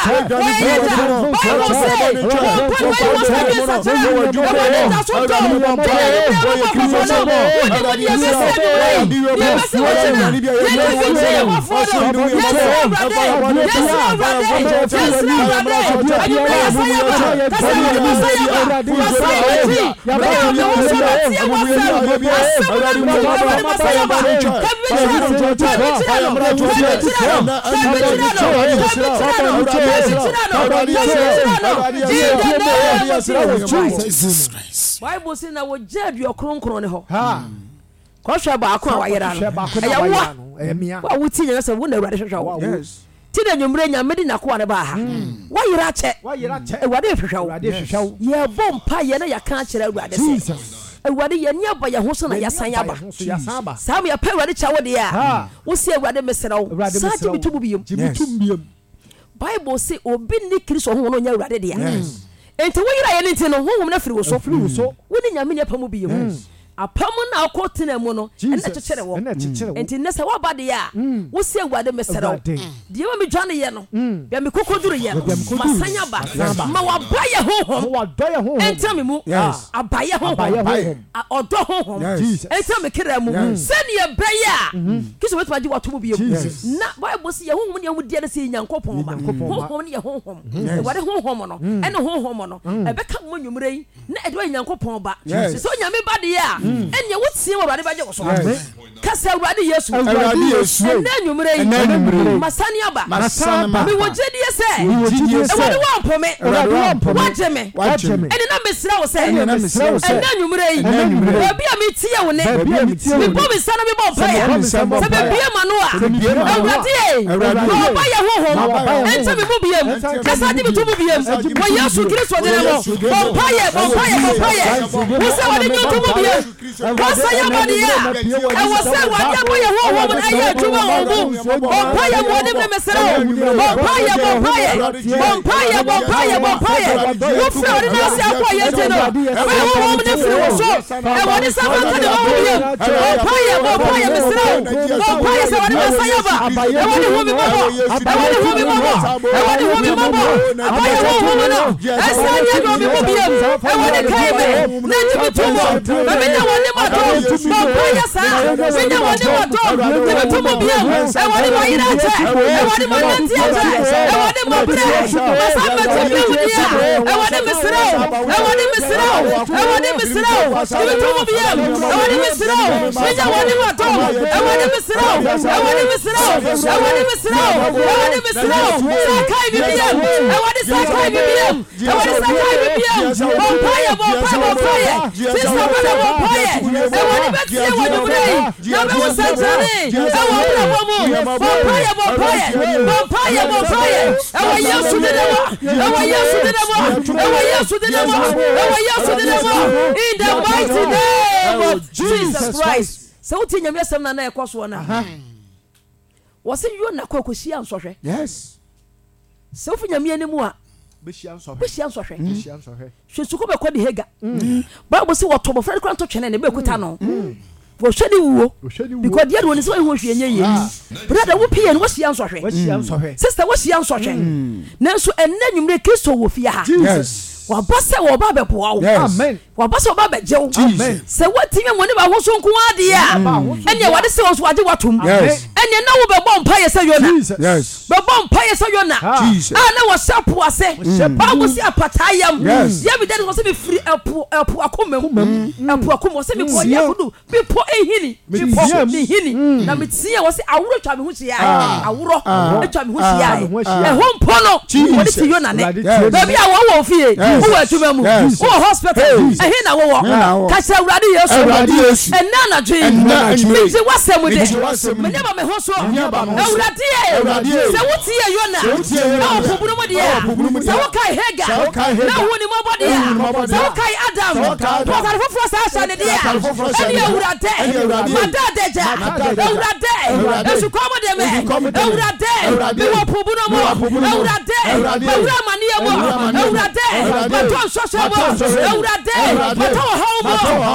Wɔyɛ yɛn Agya. Bible se, Wɔmpa no ayi wɔn so adwene nsakyera. Awurade da so dɔ wo. Gye na anwummere abɛbɔ kɔkɔ no. Wonim deɛ ɛbɛsi anwummere yi, deɛ ɛbɛsi ɔkyena. Yɛn gye bi kyerɛ yɛn bɔfoɔ no. Yɛsrɛ Awurade, yɛsrɛ Awurade, yɛsrɛ Awurade. Anwummere yɛasan aba. Ka sɛ, Awurade masan aba. Masan m'akyi. Bere a me ho so matie w'asɛm. Asɛm no nti, Awurade masan aba. Ka bi kyerɛ no, ka bi kyerɛ no, ka bi kyerɛ no, ka bi kyerɛ no, ka bi kyerɛ no, ka bi kyerɛ no, ka bi kyerɛ no. In the name of Jesus Christ. Bible se na wɔgyaa aduɔkronkron no hɔ. Kɔhwɛ baako a wayera no. Ɛyɛ woa. Wo a wotie Nyame asɛm, wo na Awurade hwehwɛ wo. Ti na anwummere Nyame de n'akoa no baa ha. Woayera akyɛ. Awurade rehwehwɛ wo. Yɛrebɔ mpaeɛ na yɛaka akyerɛ Awurade sɛ, Awurade, yɛn ani aba yɛn ho so na yɛasan aba. Saa ma yɛpɛ Awurade kyɛ wo deɛ a, wo se Awurade mesrɛ wo, san gye me to mu biom. Bible se obi nni Kristo honhom no ɔnyɛ Awurade dea. Enti wo yeraeɛ no nti no, honhom no afiri wo so. Wo ne Nyame nni apam bio. Apam no a wokɔ tenaa mu no, ɛno na ɛkyekyere wo. Enti nnɛ sɛ woaba deɛ a, wo se Awurade mesrɛ wo, deɛ ɛma medwaneeɛ no, baabi a mekɔkɔduruiɛ no, masan aba. Ma w'abayɛ honhom ntena me mu. Abayɛ honhom. Ɔdɔ honhom ntena me kra mu sɛnea ɛbɛyɛ a Kristo bɛtumi agye wo ato mu bio. Na Bible se yɛn honhom ne yɛn ho deɛ no sɛ yɛ Nyankopɔn mma. Honhom ne yɛ honhom. Awurade honhom no ɛne honhom no ɛbɛka mo anwummerɛ yi na ɛde woayɛ Nyankopɔn ba. Sɛ Onyame ba deɛ a, ɛnneɛ woteɛ mu Awurade bɛgye wo so. Ka sɛ, Awurade Yesu, ɛnnɛ anwummerɛ yi, masane aba. Mewɔ gyedie sɛ Awurade woampo me, woagye me. Ɛnne na mesrɛ wo sɛ, ɛnnɛ anwummerɛ yi, baabi a metie wo nne, mebɔ me nsa na mebɔ mpaeɛ a, sɛ mebue m'ano a, Awurade ei, ma w'abayɛ honhom nte me mu biom, na san gye me to mu biom, wɔ Yesu Kristo dini mu. Bɔ mpaeɛ, bɔ mpaeɛ, bɔ mpaeɛ. Wo sɛ wɔde nnwonto mu biom. Kasa yɛ bɔne a ɛwɔ sɛ Awurade abɔ yɛn honhom no ɛyɛ adwuma wɔ wo mu. Bɔ mpaeɛ wɔ anim no mesrɛ wo. Bɔ mpaeɛ, bɔ mpaeɛ, bɔ mpaeɛ, bɔ mpaeɛ, bɔ mpaeɛ. Wofiri Awurade nan ase akɔ yɛn nti no, fa yɛn honhom no firi wo so. Awurade san fa nka ne ma wo bio. Bɔ mpaeɛ, bɔ mpaeɛ mesrɛ wo. Bɔ mpaeɛ sɛ Awurade ma san aba. Awurade hu me mmɔbɔ. Awurade hu me mmɔbɔ. Awurade hu me mmɔbɔ. Abɔ yɛn honhom no ɛsan nyɛ adwuma me mu bio. Awurade kae me. Na gye me to mu, ma menya w'anim adom. Bɔ mpaeɛ saa, menya w'anim adom. Gye me to mu bio. Awurade mayera akyɛ, Awurade manante akyɛ, Awurade mabrɛ, masan mɛte bio deɛ a, Awurade mesrɛ wo, Awurade mesrɛ wo, Awurade mesrɛ wo, gye me to mu bio. Awurade mesrɛ wo, menya w'anim adom. Awurade mesrɛ wo, Awurade mesrɛ wo, Awurade mesrɛ wo, Awurade mesrɛ wo, san kae me bio, Awurade san kae me bio. Awurade sɛ kae me bio. Bɔ mpaeɛ, bɔ mpaeɛ, bɔ mpaeɛ. Sista brada bɔ mpaeɛ. Awurade bɛtie wɔ anwummerɛ yi na ɔbɛhu sɛnkyerɛnne ɛwɔ abrabɔ mu. Bɔ mpaeɛ, bɔ mpaeɛ, bɔ mpaeɛ, bɔ mpaeɛ. Ɛwɔ Yesu din mu, ɛwɔ Yesu din mu, ɛwɔ Yesu din mu, ɛwɔ Yesu din mu. In the mighty name of Jesus Christ. Sɛ wotie Nyame asɛm na na ɛkɔ soɔ no a, Wɔse Yona kɔ kɔhyia nsɔhwɛ. Yes. Sɛ wofi Nyame anim a, Bɛhyia nsɔhwɛ. bɛhyia nsɔhwɛ. Bɛhyia nsɔhwɛ. Hwɛ sukuu bɛkɔ de Hagar. Bible se wɔto abɔfra no kora nto twene ne bɛkuta no. Wɔhwɛ ne wuo. Wɔhwɛ ne wuo. Because deɛ de wɔnim sɛ wɔyɛ ho hwee nyɛ yie. Brother wo pie no woahyia nsɔhwɛ. Wahyia nsɔhwɛ. Sister woahyia nsɔhwɛ. Nanso ɛnnɛ anwummere Kristo wɔ fie ha. Jesus. Waba sɛ ɔreba abɛboa wo. Yes. Amen. Waba sɛ ɔba abɛgye wo. Amen. Sɛ woatumi amu ne bahoso nko ara deɛ a, ɛnneɛ Awurade sɛ wo nso wagye wo atom. Yes. Ɛnneɛ na wobɛbɔ mpaeɛ sɛ Yona. Jesus. Yes. Bɛbɔ mpaeɛ sɛ Yona Jesus. a na wɔhyɛ po ase. Bible se apataa yam. Yes. Yɛ me dɛ no sɛ mefiri ɛpo ɛpo akoma mu. Ɛpo akoma mu. Ɔsɛ mekɔ yɛ kodu Bepɔ nhini, bepɔ ne nhini, na meteɛ wɔ sɛ aworɔ twa me ho hyiae, aworɔ atwa me ho hyiae. Ɛhɔ mpo no, wɔde te Yona nne. Baabi a wɔwɔ wɔ fie, wowɔ adwuma mu, wowɔ hospital, ɛhe na wowɔ? Ka kyerɛ Awurade Yesu, ɛnnɛ anadwo yi, megye w'asɛm di, m'ani aba me ho so. Awurade e, sɛ wotiee Yona wɔ po bunu mu deɛ a, sɛ wokae Hagar na wohuu ne mmɔbɔ deɛ a, sɛ wokae Adam, to atade foforɔ saa hyɛ no deɛ a, Ɛne Awurade, mada adagya, Awurade, esukɔm de me, Awurade, mewɔ po bunu mu, Awurade, mawura amaneɛ mu, Awurade, matɔ nsɔhwɛ mu, Awurade, matɔ ɔhaw mu,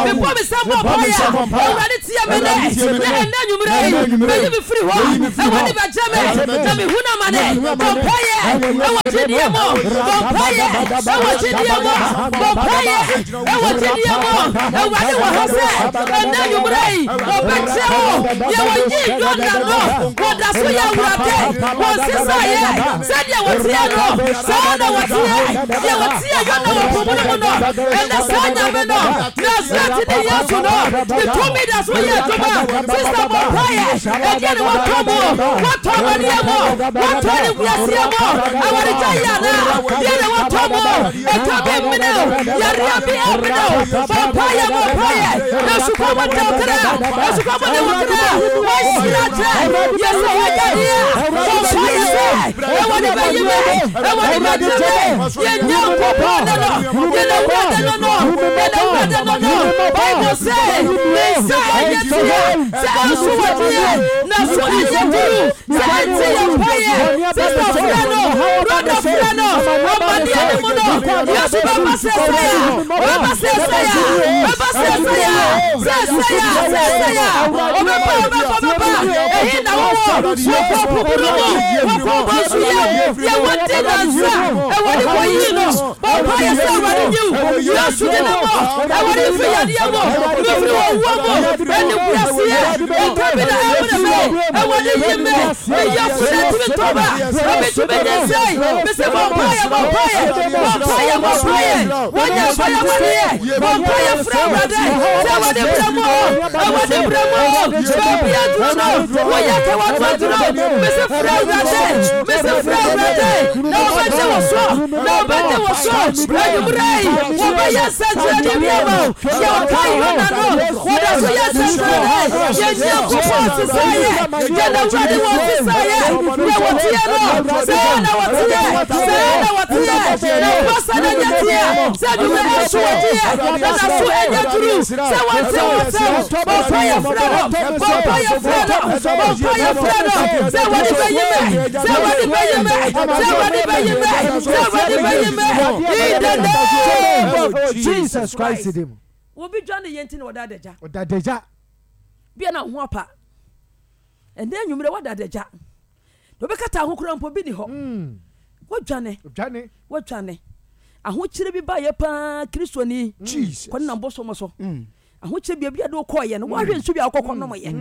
mebɔ me nsa bɔ mpaeɛ a, Awurade tie me nne, na ɛnnɛ anwummerɛ yi, bɛyi me firi. firi hɔ. Awurade bɛgye me na mehunu amane. Bɔ mpaeɛ ɛwɔ gyidie mu. Bɔ mpaeɛ ɛwɔ gyidie mu. Bɔ mpaeɛ ɛwɔ gyidie mu. Awurade wɔ ha sɛ ɛnnɛ anwummerɛ yi ɔbɛkyerɛ wo deɛ wɔyii Yona no. Wɔda so yɛ Awurade. Wɔnsesaeɛ. Sɛdeɛ wɔteɛ no, saa na wɔteɛ. Deɛ wɔteɛ Yona wɔ po bunu mu no, ɛnnɛ saa Nyame no, Nasaretni Yesu no, ne tumi da so yɛ adwuma. Sista bɔ mpaeɛ. Ɛdeɛ ne wɔtɔ mu? Wɔtɔ amaneɛ mu? Wɔtɔ animguaseɛ mu? Awaregyaeɛ anaa? Deɛ na wɔtɔ mu? Ɛka bi mmene wo? Yareɛ bi ammene wo? Bɔ mpaeɛ, bɔ mpaeɛ. Esukɔm de wo kra. Esukɔm de wo kra. Wɔahyira kyerɛ. Yɛ sɛ wɔagyadeɛ. Bɔ mpaeɛ sɛ, Awurade bɛyi me. Awurade bɛgye me. Yɛn Nyankopɔn ne no. Yɛn Awurade no no. Yɛn Awurade no no. Bible se, Ne nsa ɛnyɛ tia sɛ ɛnso adeɛ, na so ɛnyɛ duru sɛ ɛnte yɛn mpaeɛ. Sista frɛ no, brɔda frɛ no, amaneɛ no mu no, Yesu bɛba seesei a, ɔbɛba seesei a, ɔbɛba seesei a, seesei a, seesei a, ɔbɛba, ɔbɛba, ɔbɛba. Ɛhe na wowɔ? Wɔkɔ pupuru mu, wɔkɔ bonsu yam, deɛ wɔdi nansa, Awurade kɔyii no. Bɔ mpaeɛ sɛ Awurade nyi wo Yesu din mu. Awurade mfiri yadeɛ mu, mefiri owuo mu, animguaseɛ, nka bi na ɛmene me. Awurade yi me, me yafunu ntumi ntɔ ba, na mentumi nyinsɛn. Mese bɔ mpaeɛ, bɔ mpaeɛ, bɔ mpaeɛ, bɔ mpaeɛ. Wonya mpaeɛ amaneɛ, bɔ mpaeɛ frɛ Awurade sɛ Awurade brɛ mu o, Awurade brɛ mu o. Baabi aduro no, woyɛ ka w'ano aduro. Mese frɛ Awurade, mese frɛ Awurade na ɔbɛgye wo so. Na ɔbɛgye wo so. Anwummerɛ yi, wɔbɛyɛ nsɛnkyerɛnne bi ama wo. Deɛ ɔkae Yona no, wɔda so yɛ nsɛnkyerɛnne. Yɛn Nyankopɔn nsesaeɛ. Yɛn Awurade wɔ nsesaeɛ. Deɛ wɔteɛ no, saa na wɔteɛ. Saa na wɔteɛ. Na mpa sɛ na nyɛ teɛ. Sɛ anwummerɛ ɛso ɔgyeɛ, na n'aso ɛnyɛ duru. Sɛ wɔnte wo nsɛm. Bɔ mpaeɛ frɛ no. Bɔ mpaeɛ frɛ no. Bɔ mpaeɛ frɛ no. Sɛ Awurade bɛyi me. Sɛ Awurade bɛyi me. Sɛ Awurade bɛyi me. Sɛ Awurade bɛyi me. In the name of Jesus Christ din mu. Obi dwa ne yɛ nti na ɔda adagya. Ɔda adagya. Bia na ho apa. Ɛnɛ anwummerɛ wada adagya. Na obɛkata ho koraa mpo bi ni hɔ. Mm. Wadwane. Wadwane. Wadwane. Ahokyere bi baeɛ paa Kristoni. Jesus. Kɔ ne nam bosom so. Mm. Ahokyere baabi a de wokɔɔyɛ no woahwɛ nsu bi a wokɔkɔ nom yɛ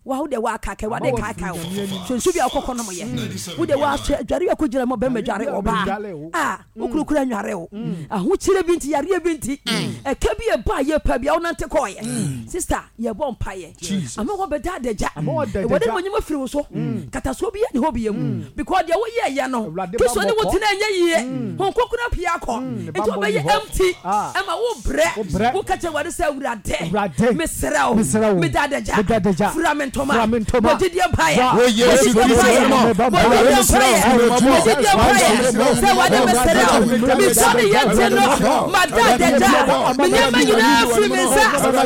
wa wo deɛ woakaka Awurade kaakae wo hwɛ nsu bi a wokɔkɔ nom yɛ wo deɛ woahwɛ adware a kɔgyina mu bɛrima dware ɔbaa a wokurukura nware wo ahokyere bi nti yareɛ bi nti ɛka bi ɛba yɛ pa bi a wonante kɔɔyɛ sister yɛbɔ mpaeɛ ama wɔbɛda adagya Awurade ma onyima firi wo so katasoɔ bi yɛ ne hɔ bi mu because deɛ woyɛɛyɛ no Kristo ne wo tena ɛnyɛ yie Honhom Kronkron apue akɔ nti wobɛyɛ empty ɛma wo brɛ wo ka kyerɛ Awurade sɛ Awurade mesrɛ wo meda adagya fira me ntoma bɔ gyidie mpaeɛ bɔ gyidie mpaeɛ bɔ gyidie mpaeɛ bɔ gyidie mpaeɛ sɛ Awurade mesrɛ wo metwa ne yɛ nti no mada adagya me nneɛma nyinaa firi me nsa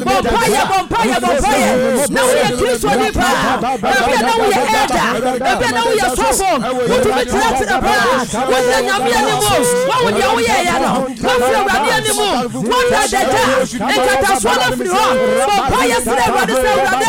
bɔ mpaeɛ bɔ mpaeɛ bɔ mpaeɛ na woyɛ Kristoni paa ebia na woyɛ elder ebia na woyɛ sɔfo wotumi kyerɛkyerɛ paa wogyina Nyame anim woahu deɛ woyɛeɛ no woafiri Awurade anim woada adagya nkatasoɔ no afiri hɔ bɔ mpaeɛ srɛ Awurade sɛ Awurade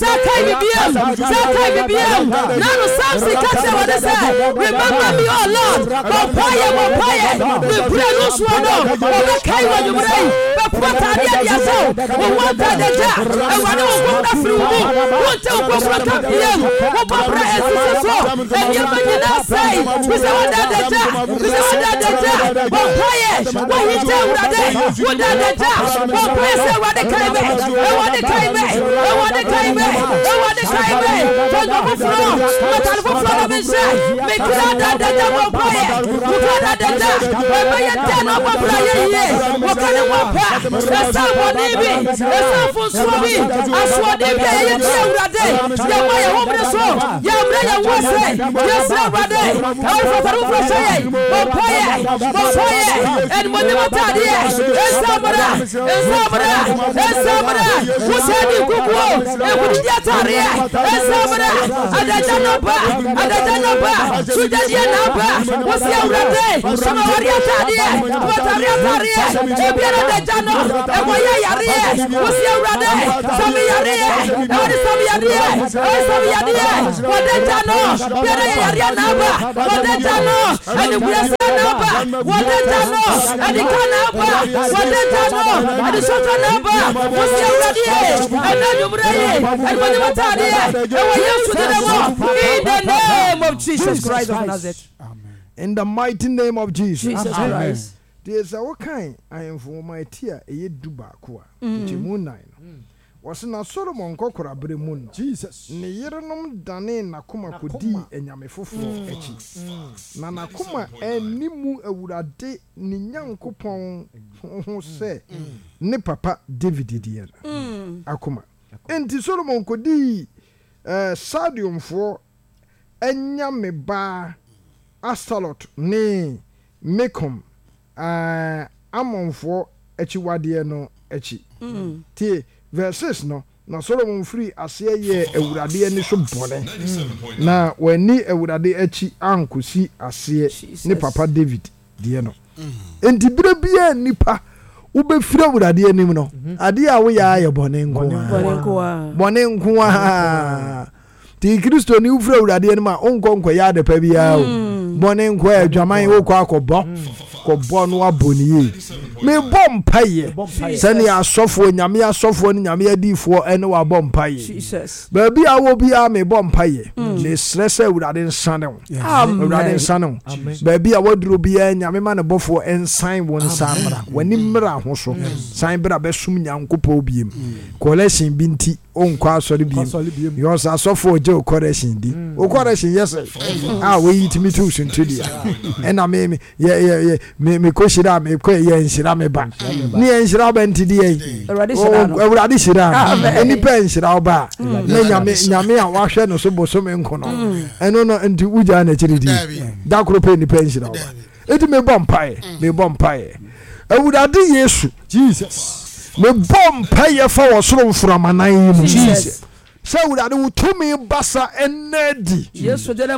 sɛ kae me biam sɛ kae me biam na no Samson ka kyerɛ Awurade sɛ remember me oh Lord bɔ mpaeɛ bɔ mpaeɛ ne berɛ no soɔ no wɔbɛkae wɔ anwummerɛ yi bɛpo ataadeɛ de ahyɛ wo wo ho anta adagya Awurade wo nkɔm no afiri wo mu wonte wo nkɔm ka biam wobɔ bra ɛsisi so nneɛma nyinaa sɛe fisɛ woda adagya fisɛ woda adagya bɔ mpaeɛ woahinta Awurade woda adagya bɔ mpaeɛ sɛ Awurade kae me Awurade kae me Awurade kae me Awurade kae me fa nnwa foforɔ matade foforɔ na menhyɛ me kra da adagya bɔ mpaeɛ wo kra da adagya ɛbɛyɛ dɛn na ɔbɔ bra yɛ yie wɔka ne ho apa ɛsan bɔne bi ɛsan mfomsoɔ bi asoɔden bi a yɛyɛ tia Awurade yɛma yɛn ho mmere so yɛmmerɛ yɛn ho ase yɛsrɛ Awurade ɛwɔ fatade foforɔ hyɛ yɛn bɔ mpaeɛ. Bɔ mpaeɛ. Animuonyam ataadeɛ. Nsa mmra. Nsa mmra. Nsa mmra. Wosan di nkukuo. Nkunimdie ataadeɛ. Nsa mmra. Adagya no ba. Adagya no ba. Sogyadeɛ na aba. Wosi Awurade. Sɛ mawareɛ ataadeɛ. Matareɛ ataadeɛ. Ebiara adagya no. Ɛkɔyɛ yareɛ. Wosi Awurade. Sɛ meyareɛ. Awurade sɛ meyareɛ. Awurade sɛ meyareɛ. Wɔdagya no. Biara yɛ yareɛ na aba. Wɔdagya no. Animguaseɛ na aba. Wɔdagya no. Ɛdika na aba. Wɔdagya no. Ɛdesɔsɔ na aba. Wosi Awurade ye. Ɛnɛ anwummerɛ yi. Animuonyam ataadeɛ. Ɛwɔ Yesu din mu. In the name of Jesus Christ of Nazareth. In the mighty name of Jesus. Jesus Christ. Deɛ sɛ wokan Ahemfo nwoma ti a ɛyɛ 11 a, nkyɛmu nnan no, Wɔse na Solomon nkɔkorabere mu no, ne yerenom danee n'akoma kɔdii anyame foforɔ akyi, na n'akoma anni mu Awurade ne Nyankopɔn ho sɛ ne papa Dawid deɛ no akoma. Enti Solomon kɔdii Sardiumfoɔ anyamebaa Astarot ne Milkom, Amonfoɔ akyiwadeɛ no akyi. Tie, verse 6 no, Na Solomon firii aseɛ yɛɛ Awurade ani so bɔne, na wanni Awurade akyi ankɔsi aseɛ ne papa Dawid deɛ no. Enti berɛ biara nnipa wobɛfiri Awurade anim no, adeɛ a woyɛ ara yɛ bɔne nko ara. Bɔne nko ara. Nti Kristoni wofiri Awurade anim a, wonkɔ nkɔyɛ adepa biara o. Mm. Bɔne nko a adwaman wokɔ akɔbɔ. Kɔbɔ no abɔ ne yie. Mebɔ mpaeɛ sɛnea asɔfoɔ, nyame asɔfoɔ ne nyame adiifoɔ ɛne wabɔ mpaeɛ. Baabi a wɔ biara mebɔ mpaeɛ. Mm. Mesrɛ sɛ Awurade nsane wo. Awurade nsane wo. Baabi a waduro biara nyame ma ne bɔfoɔ nsan wo nsa mmra. W'ani mmra ho so. San bra bɛsom Nyankopɔn biem. Collection bi nti wonkɔ asɔre biem because asɔfo ɔgye wo correction di mm. wo correction yɛ sɛ a woyi tumi tu suntudua ɛna me me yɛ yɛ yɛ me me kɔ hyira me kɔ yɛ nhyira me ba ne yɛ nhyira ba nti deɛ yi awurade hyira nipa nhyira wo ba mm. ne nyame nyame a wahwɛ no so bosome nko no mm. ɛno no nti wogyaa n'akyiri di da koro pɛ nipa nhyira wo ba Enti mebɔ mpaeɛ, mm. mebɔ mpaeɛ. Awurade Yesu, Jesus. Mebɔ mpaeɛ fa wɔ soro mframanan yi mu. Jesus. Sɛ Awurade wo tumi basa ɛnna adi.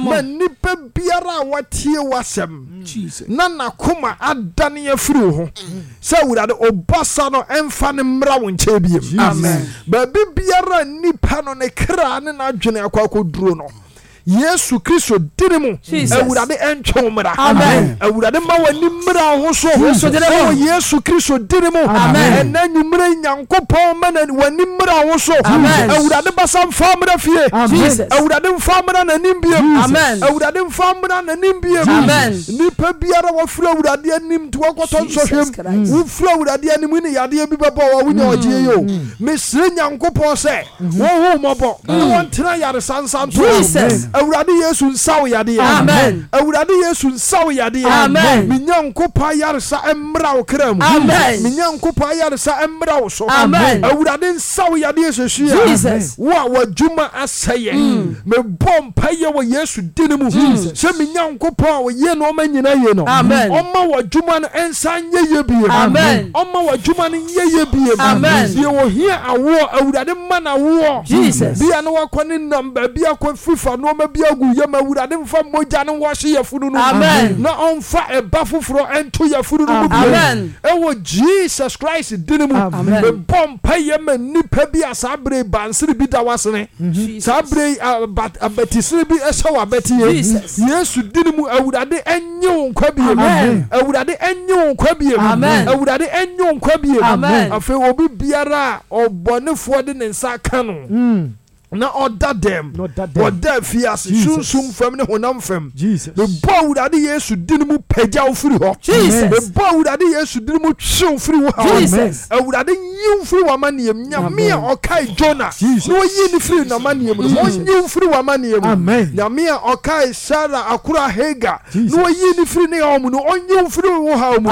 Ma nnipa biara a watie w'asɛm na n'akoma adane afiri wo ho. Mm. Sɛ Awurade ɔbasa no ɛmfa no mmra wo nkyɛn biem. Amen. Baabi biara nnipa no ne kra ne n'adwene akɔ akɔduro no. Yesu Kristo dini mu. Awurade ɛntwe wo mmra. Awurade ma w'ani mmra ho so. Ɛwɔ Yesu Kristo dini mu. Ɛnɛ nwummerɛ Nyankopɔn ma w'ani mmra ho so. Awurade basa mfa mmra fie. Awurade mfa mmra n'anim biem. Awurade mfa mmra n'anim biem. Nipa biara wafiri Awurade anim nti wakɔtɔ nsɔhwɛm. Wofiri Awurade anim ne yadeɛ bi bɛbɔ wa wonya ɔgyeɛ yi o. Mesrɛ Nyankopɔn sɛ Wɔn hu mmɔbɔ na wɔn tena yaresa nsa nto wɔn. Awurade Yesu nsa wo yadeɛ. Amen. Awurade Yesu nsa wo yadeɛ. Amen. Me Nyankopɔn ayaresa mmra wo kra mu. Amen. Me Nyankopɔn ayaresa mmra wo so. Amen. Awurade nsa wo yadeɛ sɛsi a. Jesus. Wo a w'adwuma asɛeɛ. Me bɔ mpaeɛ wɔ Yesu dini mu. Jesus. Sɛ me Nyankopɔn a ɔyɛ nnoɔma nyina yie no. Amen. Ɔmma w'adwuma no nsan nyɛ yie bio. Amen. Ɔmma w'adwuma no nyɛ yie bio. Amen. Deɛ ɔhia awoɔ, Awurade mma no awoɔ. Jesus. Bia na wakɔ ne nam baabi akɔ fifa nnoɔma bi agu yam, Awurade mfa mogya no nwɔhye yafunu no mu. Amen. Na ɔmfa ɛba foforɔ nto yafunu no mu bio. Amen. Ɛwɔ Jesus Christ dini mu. Amen. Mebɔ mpaeɛ ma nnipa bi a saa berɛ yi bansere bi da w'asene. Saa berɛ yi abatisere bi hyɛ w'abatie. Jesus. Yesu dini mu, Awurade Nye wo nkwa biem. Amen. Awurade nye wo nkwa biem. Amen. Awurade nye wo nkwa biem. Amen. Afei obi biara a ɔbɔnefoɔ de ne nsa aka no na ɔda dɛm, ɔda afiase, sunsum fam ne honam fam. Mebɔ Awurade Yesu din mu pagya wo firi hɔ. Mebɔ Awurade Yesu din mu twe wo firi wo haw mu. Awurade nyi wo mfiri w'amanneɛ mu. Nyame a ɔkae Jonah na ɔyii no firii n'amanneɛ mu no, ɔnyi wo mfiri w'amanneɛ mu. Nyame a ɔkae Sarah akora Hagar na ɔyii no firii ne haw mu no, ɔnyi wo mfiri wo haw mu.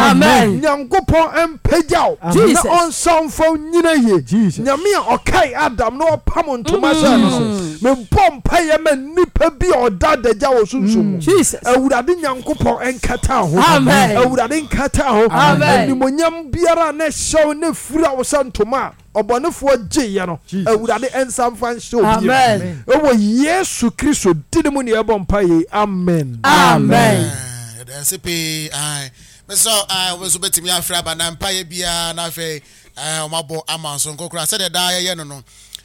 Nyankopɔn mpagya wo na ɔnsa wo mfa wo nnyina yie. Nyame a ɔkae Adam na ɔpam ntoma hyɛ. hyɛɛ no no. Mebɔ mpaeɛ ma nnipa bi a ɔda adagya wɔ sunsum mu. Awurade Nyankopɔn nkata ho. Awurade nkata ho. Animonyam biara a na ɛhyɛ wo na ɛfira wo sɛ ntoma a ɔbɔnefoɔ gyeeɛ no, Awurade nsa mfa nhyɛ wo bio. Ɛwɔ Yesu Kristo din mu na yɛbɔ mpaeɛ yi. Amen. Amen. Yɛda ase pii. Ae. Mesrɛ wo, ae, wo nso bɛtumi afrɛ aba na mpaeɛ biara na afei ae, wɔabɔ ama wo sononko koraa sɛdeɛ daa yɛyɛ no no.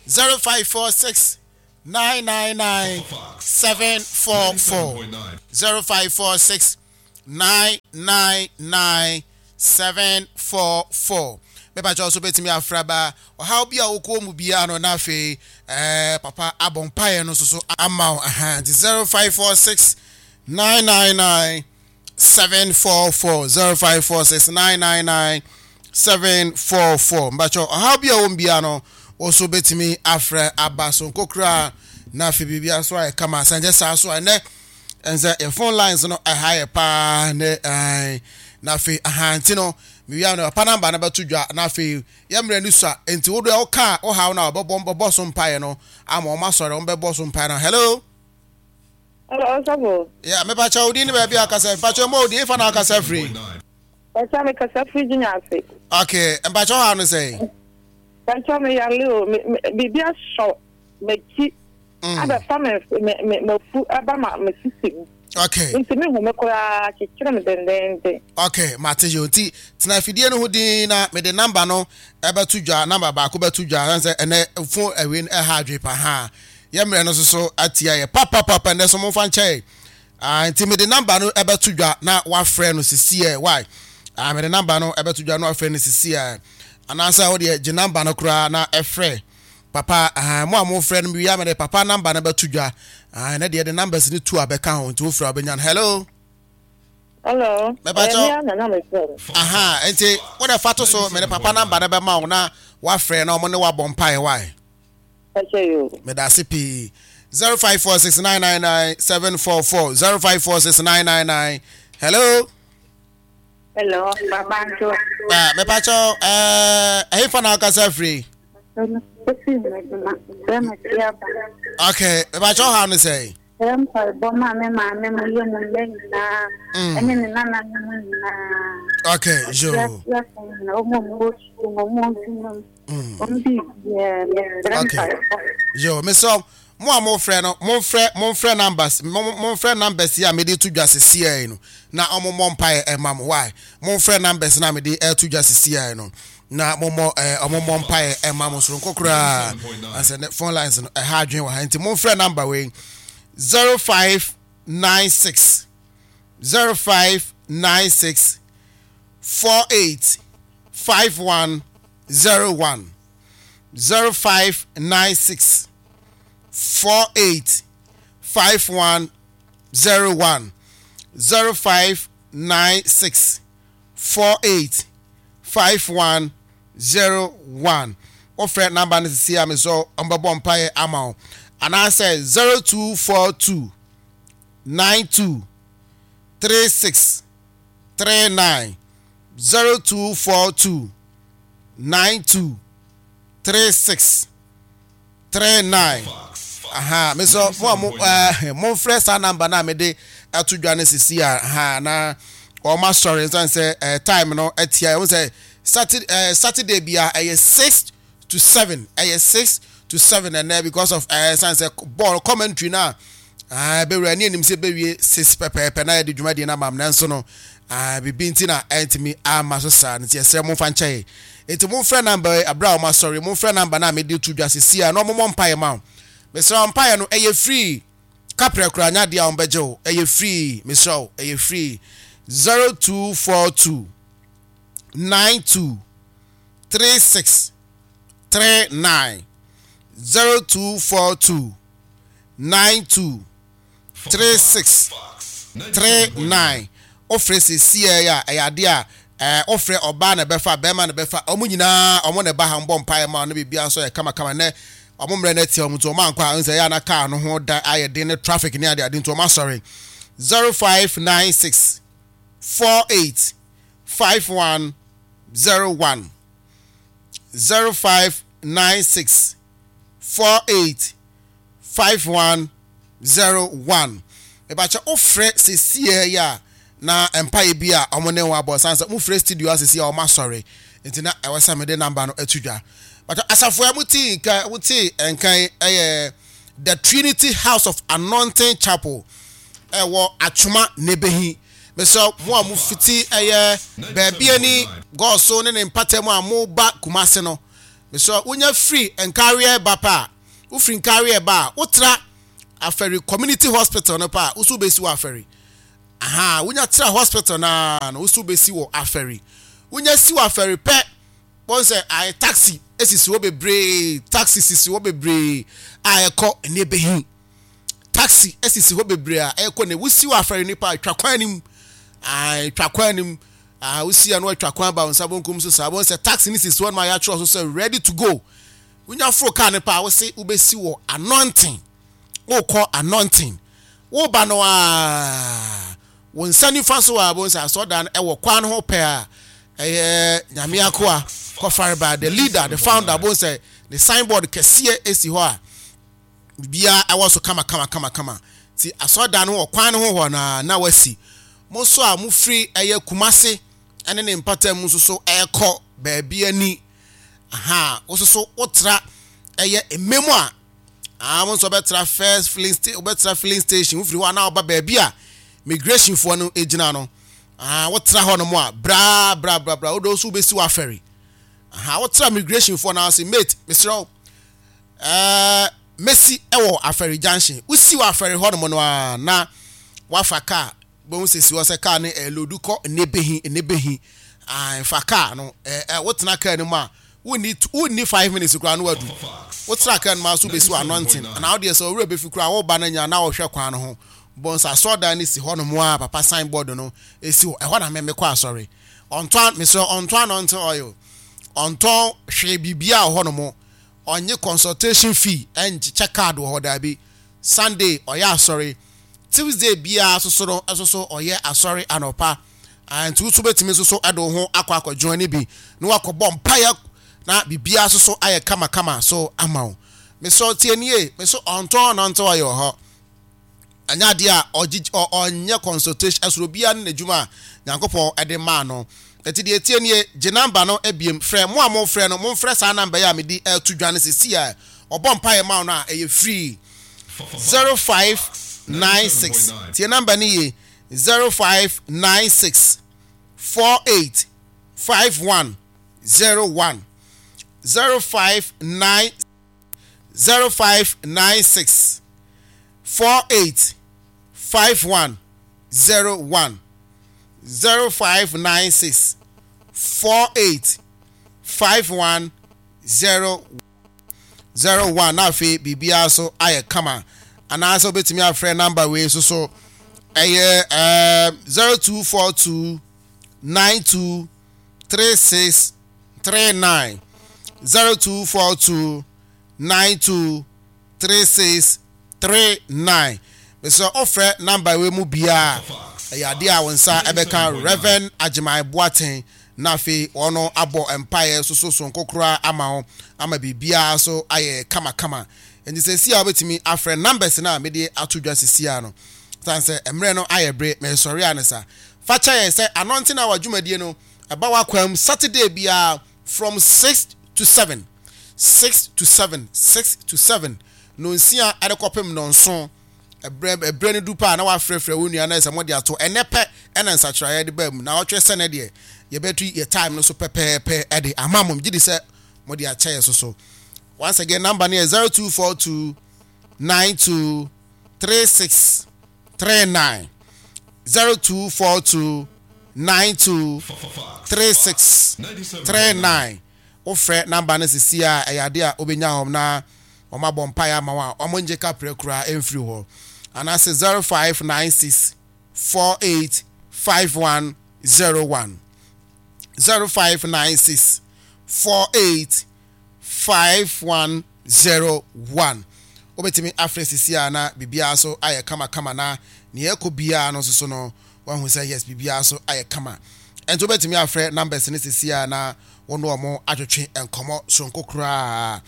0546 999 744 0546 999 744 mepakyɛ wo so bɛtumi afrɛ aba ɔhaw bi a wokɔɔ mu biara no na afei eh, papa abɔ mpaeɛ no nso so ama wo aha nti 0546 999 744 0546 999 744 mpakyɛ ɔhaw bi a ɛwɔ mu biara no wo so bɛtumi afrɛ aba so nkokora na afei biribiara so ayɛ kama sɛ nkyɛ saa so a ɛnɛ ɛnsɛ yɛ phone lines no ɛha yɛ paa ne ɛn na afei ahanti no mewia no papa namba no bɛto dwa na afei yɛ mmerɛ no sua nti wo deɛ woka wohaw no a wɔbɛbɔ bɛbɔ so mpaeɛ no ama wɔn asɔre wɔn bɛbɔ so mpaeɛ no hello. Hello, Ɔsɔfo. Yeah, me pacha odi ni baabi akasa. Mpacha mo odi ifa na akasa firi. Pacha me kasa firi Junior ase. Okay, mpacha ha no sɛ. Pacha me yale o, me biribi asɔ m'akyi. Abɛfa me me me mafu aba ma me sisi mu. Okay. Nti me hu me koraa kyekyere me dendenden. Okay, mate yo. Nti tena afidie no ho din na me de number no ɛbɛto dwa, number baako bɛto dwa. Sɛ ɛnɛ phone ɛwei ɛha adwe pa ha. Yɛ mmerɛ no soso atia yɛ papapapa ɛnɛ so momfa nkyɛ yɛ ah, nti mede number no ɛbɛto dwa na wafrɛ no sisiɛ why ah, mede number no ɛbɛto dwa na wafrɛ no sisiɛ anaasɛ wo deɛ gye number no koraa na ɛfrɛ papa ah, mo a mofrɛ no mewia mede papa number no bɛto dwa ah, ɛnɛ deɛ de numbers no tu a bɛka ho nti wofrɛ a wobɛnya no hello. Hello. Mɛbakyɛ. Aha, nti wode fa to so mede papa number no bɛma wo na wafrɛ na ɔmo ne wabɔ mpaeɛ why. Medase pii. 0546999744 054699 Hello. Hello, Baba Nto. Ah, me pacho eh eh fa na akasa free. Okay, me pacho how no say. Srɛ mpaebɔ ma me maame mo yɛ mu mma nyinaa ɛne ne nananom nyinaa. Okay, yo. Ɔteaseafo nyinaa, wɔn a wɔwɔ sukuu mu, wɔn a wɔn mu, wɔn biribiara, mesrɛ mpaebɔ. Yo, mesrɛ mo a mofrɛ no, momfrɛ momfrɛ numbers, momfrɛ numbers yi a mede to dwa sesiei no na wɔn mmɔ mpaeɛ ɛma mo. Why? Momfrɛ numbers no a mede ɛto dwa sesiei no. na mommɔ ɛɛ eh, ɔmo mmɔ mpaeɛ ɛma mo soronko koraa asɛ ne phone lines no ɛha adwene wɔ ha nti momfrɛ number wei 0596 0596 48 5101 0596 48 5101 0596 48 51 01 wofrɛ namba no sisi a mesɛ ɔmbɛbɔ mpaeɛ ama wo anaasɛ 0242 92 36 39 0242 92 36 39 aha me sɛ mo a mo ɛɛ momfrɛ saa namba no a mede ato dwa no sisi a ha na wɔn asɔre nsan sɛ ɛɛ time no atia ɛho sɛ saturday ɛɛ saturday bia ɛyɛ 6 to 7, ɛyɛ 6 to 7 ɛnɛ because of ɛɛ san sɛ ball commentary na ɛɛ bɛwura ne anim sɛ bɛwie 6 pɛpɛɛpɛ na yɛde dwumadie no ama m nanso no ɛɛ bibi nti na ɛntumi ama so saa nti ɛsrɛ momfa nkyɛn. Enti momfrɛ number yi aberɛ a wɔn asɔre, momfrɛ number no a mede to dwa sesie a na wɔmmɔ mpaeɛ ma wo. Mesrɛ wo mpaeɛ no ɛyɛ free, kaprɛ koraa nyɛ adeɛ a wɔbɛgye wo, ɛyɛ free, mesrɛ wo ɛyɛ free. 0242 92 36 39 0242 92 36 39 Wofrɛ sesiei a, ɛyɛ adeɛ a ɛɛ wofrɛ ɔbaa na ɛbɛfa, bɛrima na ɛbɛfa, wɔn nyinaa wɔn na ɛba ha, wɔbɔ mpaeɛ ma wo na biribiara nso yɛ kamakama. Nnɛ wɔn mmerɛ no atia wɔn nti wɔn ankɔ a, ɛhu sɛ ɛyɛ a na kaa no ho da ayɛ den ne traffic ne adeade nti wɔn asɔre. 0596 48 51 01 0596 48. 51 01. Mepakyɛ wo frɛ sesiɛ yi a na mpaeɛ bi a ɔmo ne wo abɔ san sɛ mo frɛ studio a sesiɛ a ɔmo asɔre nti na ɛwɔ sɛ mede number no ato dwa. Pakyɛ asafo a mo te nka mo te nka yi ɛyɛ The Trinity House of Anointing Chapel ɛwɔ Atwoma Nebehi. Mesrɛ mo a mo fiti ɛyɛ baabi ani gɔɔso ne ne mpata mu a mo ba Kumase no mesrɛ wonya firi nkareɛ ba pɛ a Wofiri Nkareɛ ba a, wotra Afari Community Hospital no pɛ a, wo so wobɛsi wɔ Afari. Aha, wonya tra hospital no ara no, wo so wobɛsi wɔ Afari. Wonya si wɔ Afari pɛ, wɔn sɛ ayɛ taxi esisi hɔ bebree, taxi sisi hɔ bebree a ɛkɔ Nnebehi. Taxi esisi hɔ bebree a ɛkɔ ne wosi wɔ Afari nipa atwa kwan no mu. Atwa kwan no mu. Ah, wosi ano atwa kwan ba wo nsa bonkum so saa. Wɔn sɛ taxi no sisi hɔ no ma yɛatwerɛ so sɛ ready to go. Wonya foro kaa no pɛ a, wose wobɛsi wɔ anointing. Wokɔ anointing. Woba no a, wo nsa nifa so a, wobɛhu sɛ asɔredan no ɛwɔ kwan no ho pɛ a, ɛyɛ Nyame akoa Kɔfareba, the leader, the founder, wobɛhu sɛ ne signboard kɛseɛ esi hɔ a, biribiara ɛwɔ so kama kama kama kama. Ti asɔredan no wɔ kwan no ho hɔ na na wasi. Mo nso a mofiri ɛyɛ Kumase ɛne ne mpata mu nso so ɛrekɔ baabi ani. Ahaa, wo nso so wotra ɛyɛ mmɛ mu a, ah, wo nso wobɛtra first filling station, wobɛtra filling station, wofiri hɔ a na woba baabi a migration foɔ no gyina no. Ah, wotra hɔ nom a, bra, bra, bra, bra, wode nso wobɛsi w'afɛre. Aha, wotra migration foɔ no ase, mate, mesrɛ wo, ɛɛ, mɛsi ɛwɔ afɛre junction. Wosi wɔ afɛre hɔ nom no a, na wafa kaa Bohu sɛ si hɔ sɛ kaa no ɛlodu kɔ nnebehi nnebehi ae fa kaa no ɛ ɛ wotena kaa no mu a wonni wonni 5 minutes koraa no wadu wotena kaa no mu a so bɛsi wɔ anɔnten anaa wodeɛ sɛ owura bɛfi koraa woba no nya na wohwɛ kwan no ho bɔ nsa asɔredan no si hɔ nom a papa sign board no ɛsi hɔ ɛhɔ na me mekɔ asɔre ɔntɔn mesrɛ ɔntɔn anointing oil ɔntɔn hwee biribiara wɔ hɔ nom ɔnye consultation fee ɛnkyekyɛ card wɔ hɔ daabi Sunday ɔyɛ asɔre Tuesday biara soso no nso so ɔyɛ asɔre anɔpa. Ah, nti woso bɛtumi nso so de wo ho akɔ akɔ join bi na wakɔbɔ mpaeɛ na biribiara nso so ayɛ kamakama so ama wo. Mesɛ tie nie, me so ɔntɔn nante ɔyɛ wɔ hɔ. Ɛnyɛ adeɛ a ɔgye ɔnyɛ consultation ɛsoro obiara ne n'adwuma a Nyankopɔn de maa no. Nti deɛ tie nie, gye namba no ebiem frɛ mo a mofrɛ no, momfrɛ saa namba yi a mede ɛto dwa no sisi a ɔbɔ mpaeɛ ma wo no a ɛyɛ free. 0596 tie number no yie 0596 48 51 01 059 0596 48 51 01 0596 48 51 01 01 na afei biribiara so ayɛ kama anaasɛ wobɛtumi afrɛ number wei nso so ɛyɛ ɛɛ 0242 92 36 39 0242 92 36 39 mesɛ ɔfrɛ number wei mu biara ɛyɛ adeɛ a wo nsa ɛbɛka Reverend Agyeman Boateng na afei wɔn abɔ mpaeɛ soso sonko koraa ama wo ama biribiara so ayɛ kamakama. Nti sɛsi a wobɛtumi afrɛ numbers no a mede ato dwa sisi a no, sane sɛ mmerɛ no ayɛ bere, meresɔre a ne sa. Fa kyɛ yɛn sɛ Anointing Hour dwumadie no ɛba w'akwan mu Saturday biara from 6 to 7, 6 to 7, 6 to 7, nonsia de kɔpem nɔnson. Ɛberɛ ɛberɛ no du pɛ a na wafrɛfrɛ wo nua na sɛ mode ato ɛnɛ pɛ ɛna nsakyeraeɛ de baa mu na ɔtwe sɛ nɛ deɛ yɛbɛtu yɛ time no so pɛpɛɛpɛ ɛde ama mo gye di sɛ mode akyɛ yɛ so so once again number no yɛ 0242 92 36 39 0242 92 36 39 wofrɛ number no sisi a ɛyɛ adeɛ a wobɛnya hɔ na wɔabɔ mpaeɛ ama wo a, wɔngye kaprɛ koraa mfiri hɔ. Anaasɛ 0596 48 5101. 0596 48 5101. Wobɛtumi afrɛ sisi a na biribiara so ayɛ kamakama na nea ɛkɔ biara no nso so no wahu sɛ yes biribiara so ayɛ kama. Ɛnti wobɛtumi afrɛ numbers no sisi a na wo ne wɔn atwetwe nkɔmmɔ soronko koraa.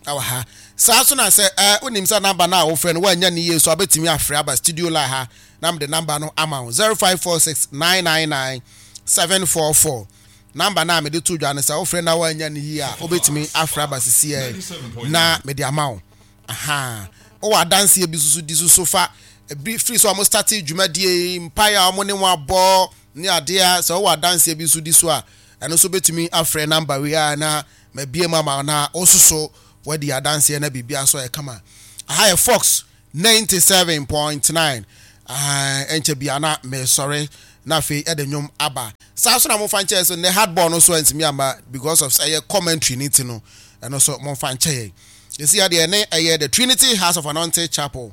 Ɛwɔ ha. Saa nso na sɛ eh, wonim sɛ number no a wofrɛ no woannya ne yie so a, wobɛtumi afrɛ aba studio line ha na mede number no ama wo. 0546 999 744. Number no a mede to dwa no sɛ wofrɛ na woannya ne yie a, wobɛtumi afrɛ aba sisiɛ na mede ama wo. Aha. Wowɔ adanseɛ bi soso di soso fa bi firi sɛ wɔn starte dwumadie yi, mpaeɛ a wɔn ne wɔn abɔ ne adeɛ a sɛ wowɔ adanseɛ bi nso di so a, ɛno nso bɛtumi afrɛ number wei a na mabue mu ama wo na wo nso so woadi adanseɛ na biribiara nso ayɛ kama. Aha yɛ Fox 97.9 ɛnkyɛ bia na mesɔre na afei ɛde nnwom aba. Saa nso na momfa nkyɛ so nnɛ hardball no nso antumi amma because of ɛyɛ commentary no nti no ɛno nso momfa nkyɛ yɛn. Ɛsi adeɛ ne ɛyɛ The Trinity House of Anointed Chapel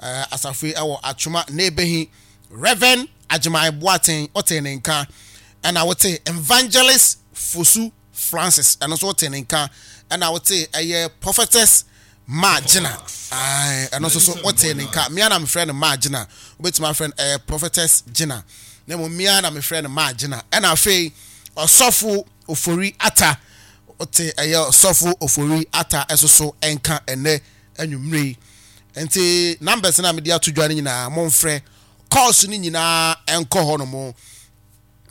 asafo yi ɛwɔ Atwoma na ɛbɛhi Reverend Agyeman Boateng wote ne nka ɛna wote Evangelist Fosu Francis, ɛno nso wote ne nka, ɛna wote ɛyɛ Prophetess Maa Gyina, ɛno nso so wote ne nka, mmea na mefrɛ no Maa Gyina, wobɛtumi afrɛ no ɛyɛ Prophetess Gyina, na mmom mmea na mefrɛ no Maa Gyina, ɛna afei Ɔsɔfo Ofori Atta, wote ɛyɛ Ɔsɔfo Ofori Atta ɛso so nka ɛnɛ anwummere yi. Nti numbers no a mede ato dwa no nyinaa momfrɛ, calls no nyinaa ɛnkɔ hɔ nom.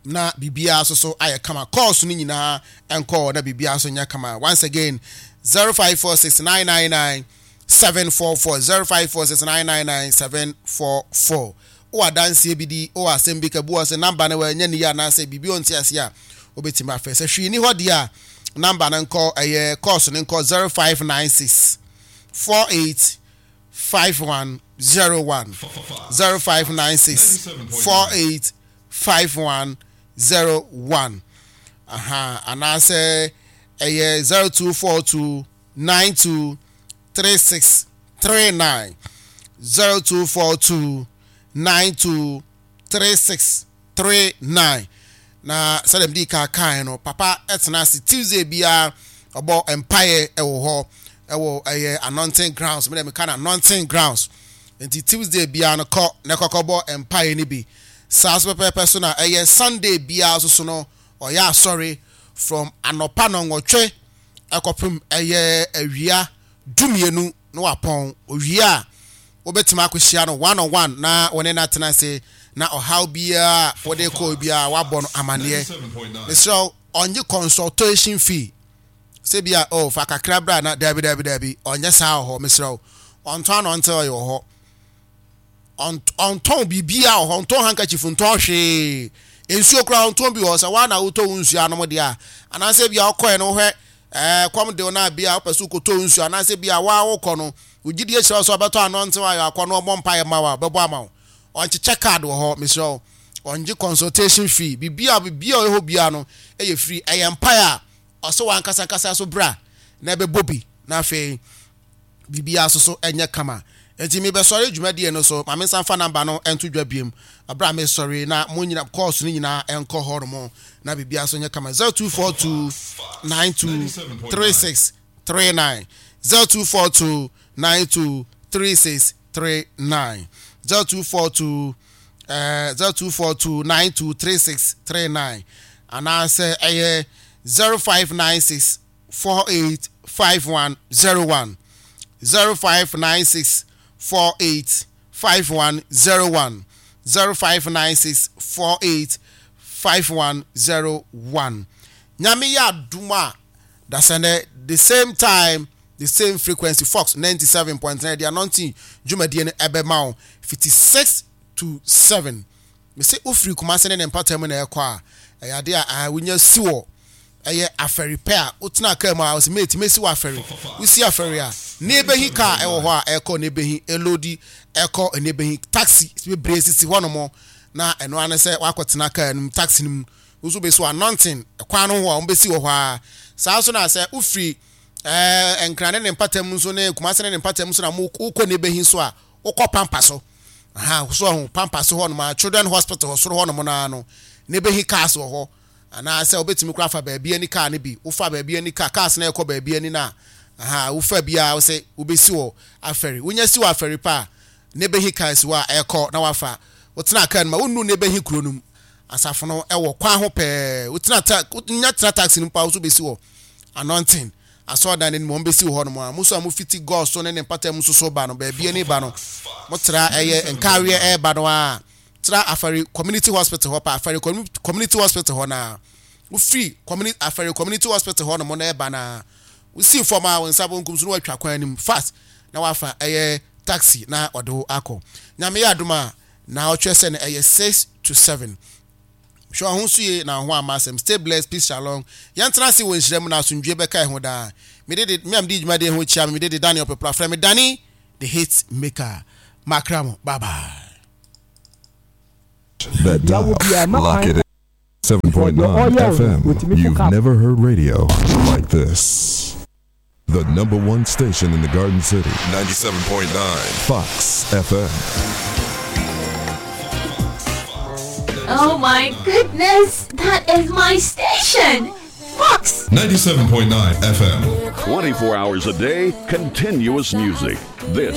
na biribiara nso so ayɛ kama. Calls no nyinaa nkɔ na biribiara nso nyɛ kama. Once again, 0546 999 744 0546 999 744. Wowɔ adanseɛ bi di, wowɔ asɛm bi ka, bi wɔ sɛ namba no ɛnyɛ ne yie anaasɛ biribi ɔnte aseɛ a, wobɛtumi afrɛ. Sɛ hwee ni hɔ deɛ a, namba no nkɔ ɛyɛ calls no nkɔ 0596 48 5101 0596 48 5101 aha anaasɛ ɛyɛ 0242 92 3639 0242 92 3639 na sɛdeɛ mede ka kae no papa tena ase Tuesday biara ɔbɔ mpaeɛ wɔ hɔ ɛwɔ ɛyɛ anointing grounds mede meka no anointing grounds nti Tuesday biara no kɔ na kɔkɔ bɔ mpaeɛ no bi saa so pɛpɛɛpɛ so na ɛyɛ Sunday biara so so no ɔyɛ asɔre from anɔpa nɔnwɔtwe ɛkɔpem ɛyɛ awia dumienu na wapɔn. Owie a, wobɛtumi akɔhyia no one on one na wo ne no atena ase na ɔhaw biara a wode kɔɔ biara wabɔ no amanneɛ. Mesrɛ wo, ɔnnye consultation fee sɛ bi a oh, fa kakra bra na daabi daabi daabi, ɔnyɛ saa wɔ hɔ. Mesrɛ wo, ɔntɔn anointing oil wɔ hɔ. Ɔntɔn biribiara wɔ hɔ, ɔntɔn handkerchief, ntɔn hwee. Nsuo koraa ɔntɔn bi wɔ hɔ. Sɛ woa na wotɔ wo nsuo anom deɛ a, anaasɛ bi a wokɔɛ no wohwɛ ɛɛ kɔm de wo no a bi a wopɛ sɛ wokɔtɔ wo nsuo anaasɛ bi a woa wokɔ no wo gyidie kyerɛ wo sɛ ɔbɛtɔ anɔntew ayɔ akɔ no ɔbɔ mpaeɛ ma wo a ɔbɛbɔ ama wo. Ɔnkyekyɛ card wɔ hɔ, mesrɛ wo. Ɔngye consultation fee. Biribiara biribiara ɔyɛ hɔ biara no ɛyɛ free. Ɛyɛ mpaeɛ a ɔsɛ w'ankasa ankasa so bra na ɛbɛbɔ bi na afei biribiara nso so nyɛ kama. Enti mebɛsɔre dwumadie no so, ma mensan mfa number no nto dwa biom berɛ a mesɔre na mo nyina calls no nyinaa nkɔ hɔ nom na biribiara nso nyɛ kama. 0242 92 36 39 0242 92 36 39 0242 eh, 0242 92 36 39 anaasɛ ɛyɛ 0596 48 51 01 0596 48 51 01 0596 48 51 01 Nyame yɛ adom a dasɛnɛ the same time the same frequency Fox 97.9 de anointing dwumadie no ɛbɛma wo fiti 6 to 7 Mese wofiri Kumase ne ne mpata mu na ɛkɔ a, ɛyɛ adeɛ a ah, wonya si wɔ ɛyɛ afɛri pɛ a wotena kaa mu a wɔsi mate mesi wɔ afɛri. Wosi afɛri a, ne ebehi kaa ɛwɔ hɔ a ɛkɔ ne ebehi elodi ɛkɔ ne ebehi taxi bebree sisi hɔ nom na ɛno ara ne sɛ wakɔtena kaa no mu taxi no mu nso besi wɔ anɔnten kwan no ho a wɔbɛsi wɔ hɔ ara. Saa nso na sɛ wofiri ɛɛ Nkran ne ne mpata mu nso ne Kumase ne ne mpata mu nso na wokɔ ne ebehi nso a wokɔ Pampa so. Aha, so ɔho, Pampa so hɔnom a, Children Hospital hɔ soro hɔnom no ara no, na ebehi cars wɔ hɔ. Anaasɛ wobɛtumi koraa afa baabi ani car no bi. Wofa baabi ani car, cars no ɛkɔ baabi ani no a, aha, wofa bi a, wosɛ wobɛsi wɔ afɛri. Wonya si wɔ afɛri pɛ a, na ebehi cars wɔ a ɛkɔ na wafa. Wotena car no mu a, wonnu na ebehi kuro no mu. Asafo no ɛwɔ kwan ho pɛɛ. Wotena ta, wonya tena taxi no mu paa, wo nso wobɛsi wɔ Anointing. Asɔredan no anim, wɔbɛsi wɔ hɔnom a. Mo nso a mofiti Gɔs so ne ne mpata mu nso so ba no, baabi ani ba no, motra ɛyɛ Nkaweɛ ɛreba no a, tra Afari Community Hospital hɔ pa, Afari Community Hospital hɔ no a, wofiri Community, Afari Community Hospital hɔ nom no ɛreba no a, wosi fam a, wo nsa bonkum so na watwa kwan anim fast na wafa ɛyɛ taxi na ɔde wo akɔ. Nyame yɛ adom a, na ɔtwerɛ sɛ no ɛyɛ 6 to 7. Hwɛ wo ho so yie na wo ho amma asɛm. Stay blessed, peace, shalom. Yɛntena ase wɔ nhyira mu na asomdwoeɛ bɛka yɛn ho daa. Me de de, me a medi dwumadie ho kyia me, me de de Daniel Pepra. Frɛ me Danny the Hit Maker. Makra mo, bye bye. That dial, lock it in. 7.9 FM. You've never heard radio like this. The number one station in the Garden City. 97.9 Fox FM. Oh my goodness, that is my station! Fox! 97.9 FM. 24 hours a day, continuous music. This